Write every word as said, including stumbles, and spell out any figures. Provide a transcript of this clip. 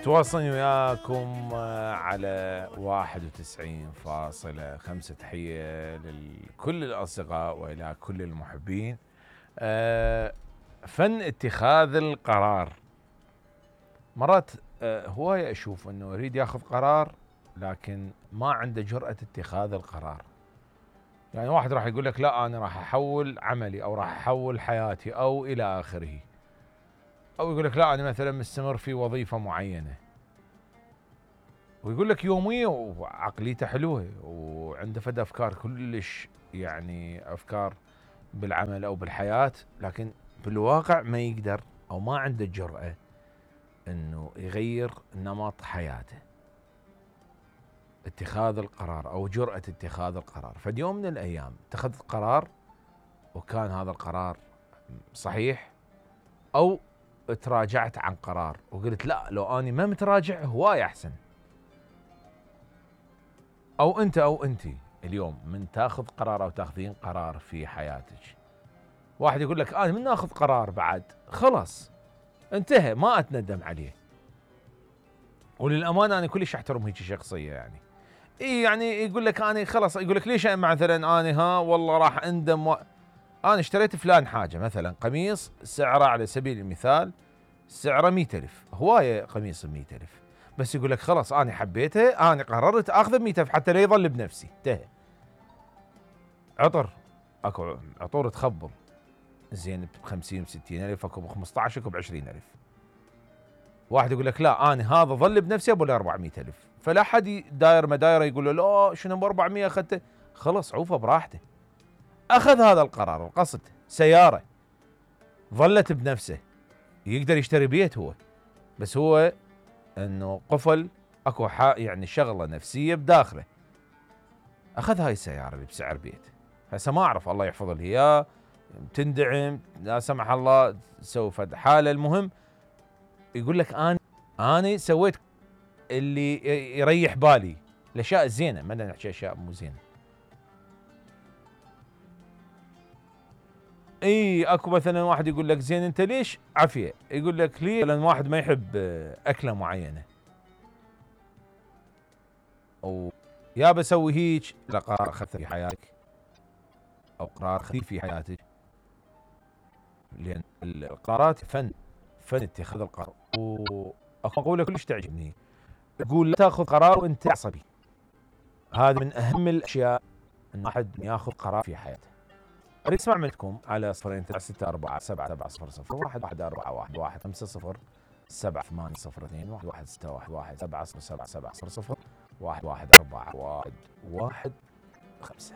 متواصلين وياكم على واحد وتسعين فاصلة خمسة. تحية لكل الأصدقاء وإلى كل المحبين. فن اتخاذ القرار. مرات هواية أشوف أنه يريد ياخذ قرار لكن ما عنده جرأة اتخاذ القرار. يعني واحد راح يقول لك لا أنا راح أحول عملي أو راح أحول حياتي أو إلى آخره، أو يقول لك لا أنا مثلا مستمر في وظيفة معينة، ويقول لك يومية وعقليته حلوة وعنده فد أفكار كلش، يعني أفكار بالعمل أو بالحياة، لكن بالواقع ما يقدر أو ما عنده الجرأة أنه يغير نمط حياته، اتخاذ القرار أو جرأة اتخاذ القرار. فاليوم من الأيام اتخذت قرار وكان هذا القرار صحيح، أو تراجعت عن قرار وقلت لا لو أني ما متراجع هواي أحسن. أو أنت أو أنتي اليوم من تاخذ قرار أو تاخذين قرار في حياتك، واحد يقول لك أنا من ناخذ قرار بعد خلاص انتهى ما أتندم عليه. وللأمانة أنا كلش أحترم هيك شخصية، يعني إيه يعني يقول لك أنا خلاص، يقول لك ليش مثلا أنا ها والله راح أندم و... أنا اشتريت فلان حاجة، مثلا قميص سعره على سبيل المثال سعره مئة ألف، هواية قميص مئة ألف، بس يقول لك خلاص أنا حبيته أنا قررت أخذه بمئة ألف حتى لا يظل بنفسي. انتهى. عطر أكو عطور تخبل زين بخمسين وستين ألف، أكو بخمسة عشر، أكو بعشرين ألف. واحد يقول لك لا أنا هذا ظل بنفسي أبو أربعمئة ألف، فلا حد داير مدايره يقول له لا شنو ب أربعمئة أخذته، خلص عوفه براحته. أخذ هذا القرار، القصد سيارة ظلت بنفسه، يقدر يشتري بيت هو، بس هو انه قفل اكو يعني شغله نفسيه بداخله. اخذ هاي السياره اللي بسعر بيت، هسه ما اعرف الله يحفظ له اياه، تندعم لا سمح الله سوف حاله. المهم يقول لك انا انا سويت اللي يريح بالي، الاشياء الزينه، ما نحكي اشياء مو زينه. اي اكو مثلا واحد يقول لك زين انت ليش عافيه، يقول لك ليه لان واحد ما يحب اكله معينه، او يا بسوي هيك، لا قرار اخذته في حياتك او قرار خفيف في حياتك، لان القرارات فن فن اتخاذ القرار. واكو مقوله كلش تعجبني، تقول لا تاخذ قرار وانت عصبي. هذا من اهم الاشياء ان واحد ياخذ قرار في حياته. اريد اسمع منكم على صفرين تسعة ستة أربعة سبعة سبعة صفر صفر واحد واحد أربعة واحد واحد خمسة صفر سبعة ثمانية صفر اثنين واحد واحد ستة واحد واحد سبعة صفر سبعة سبعة صفر صفر واحد واحد أربعة واحد واحد خمسة.